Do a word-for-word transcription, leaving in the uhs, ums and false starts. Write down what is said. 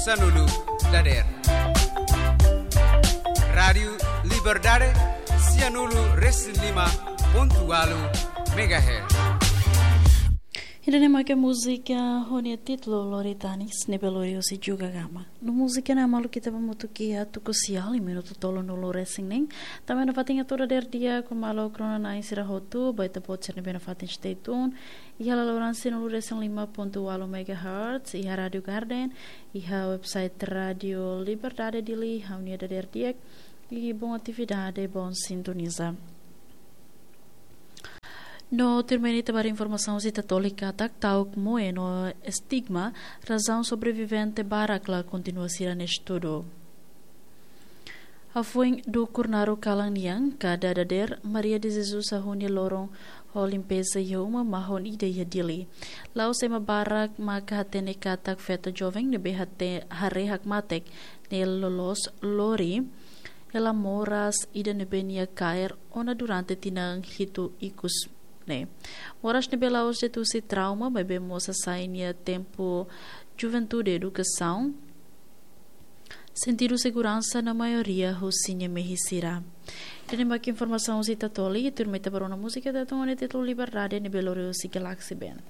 Sanulu dader. Rádiu Liberdade, sianulu resin lima pontu walu megahertz. Ida-ne'e mak múzika ho nia títulu Lori Tanis, ne'ebé lori husi Juga Gama. No múzika ne'e maluk ita ba hamutuk iha tuku sia, minutu tolunulu resin neen. Tanba nafatin atu dader di'ak ho maluk rona-na'in sira hotu, ba ita-boot sira ne'ebé nafatin stay tune iha laloran sianulu resin lima pontu walu megahertz, iha Rádiu Garden, iha website Rádiu Liberdade Dili, ha'u-nia dader di'ak, i bom atividade, bom sintoniza. No tuirmai ne'e ita ba informasaun husi Tatoli katak ta'uk moe no estigma, razaun sobrevivente barak la kontinua sira-nia estudu. Hafoin dukur naruk kalan nian, kada dader, Maria de Jesus hahú nia loron ho limpeza iha uma mahon ida iha Dili. La'ós ema barak maka hatene katak feto joven ne'ebé hate-, haree hakmatek ne'e loloos lori hela moras ida ne'ebé nia kaer ona durante tinan hitu ikus ne'e. Moras ne'ebé la'ós de'it husi trauma, maibé mós hasai nia tempu juventude, edukasaun, sentidu seguransa no maioria husi nia mehi sira. Ida-ne'e mak informasaun husi Tatoli, tuirmai ita ba rona múzika atu tun ho nia títulu Liberdade ne'ebé lori husi Galaxy Band.